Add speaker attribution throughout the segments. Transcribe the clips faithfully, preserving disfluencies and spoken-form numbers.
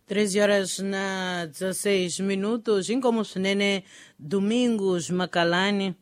Speaker 1: treze horas na dezesseis minutos, inkomo swinene Domingos Makalani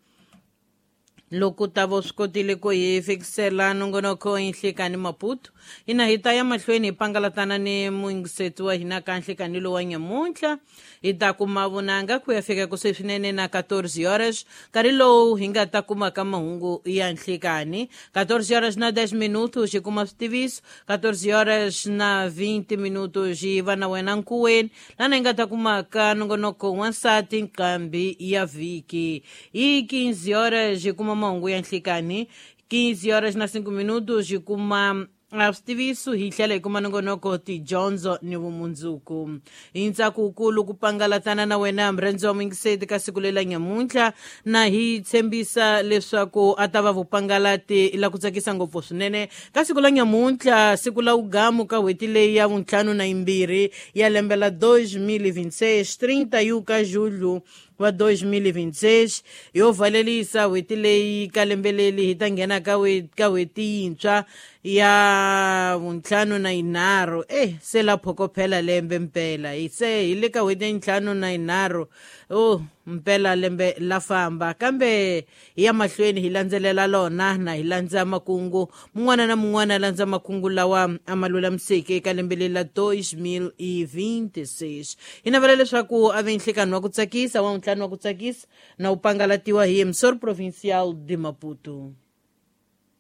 Speaker 1: loko ta vo swi kotile ku hi fikisela nongonoko hi nhlikani Maputo. Hina hi ta ya mahlweni hi pangalatana ni muyingiseti wa hina ka nhlikani lowa nyamuntlha. Hi ta kuma vunanga ku ya fika kusuhi swinene na quatorze horas, nkarhi lowu hi nga ta kuma ka mahungu ya nhlikani. quatorze horas na dez minutos hi kuma switiviso, quatorze horas na vinte minutos hi va na wena nkuweni lana hi nga ta kuma ka nongonoko wansati nqambi ya vhiki. Hi quinze horas hi kuma mahungu ya nhlikani, quinze horas na cinco minutos hi kuma switiviso, hi tlhela hi kuma nongonoko tidyondzo ni vumundzuku. Hi ntsako wukulu ku pangalatana na wena murhandzi wa muyingiseti ka siku lela nyamuntlha, na hi tshembisa leswaku a ta va vupangalati la ku tsakisa ngopfu swinene ka siku la nyamuntlha, siku la wugamu ka n'hweti leyi ya vuntlhanu na yimbirhi ya lembe la dois mil e vinte e seis, trinta e um ka julho wa dois mil e vinte e seis. Yo valelisa n'hweti leyi ka lembe leri hi ta nghena ka ka n'hweti yintshwa ya vuntlhanu na yinharhu. Eh se la phokophela lembe mpela, hi se hi le ka n'hweti ya ntlhanu na yinharhu, oh mpela lembe la famba, kambe hi ya mahlweni hi landzelela lona na hi landza makungu mun'wana na mun'wana a landza makungu lawa a ma lulamiseke eka lembe leri la dois mil e vinte e seis. Hi navela leswaku a ve nhlikani wa ku tsakisa wa ntlhanu wa ku tsakisa na wu pangalatiwa hi Emissor Provincial de Maputo.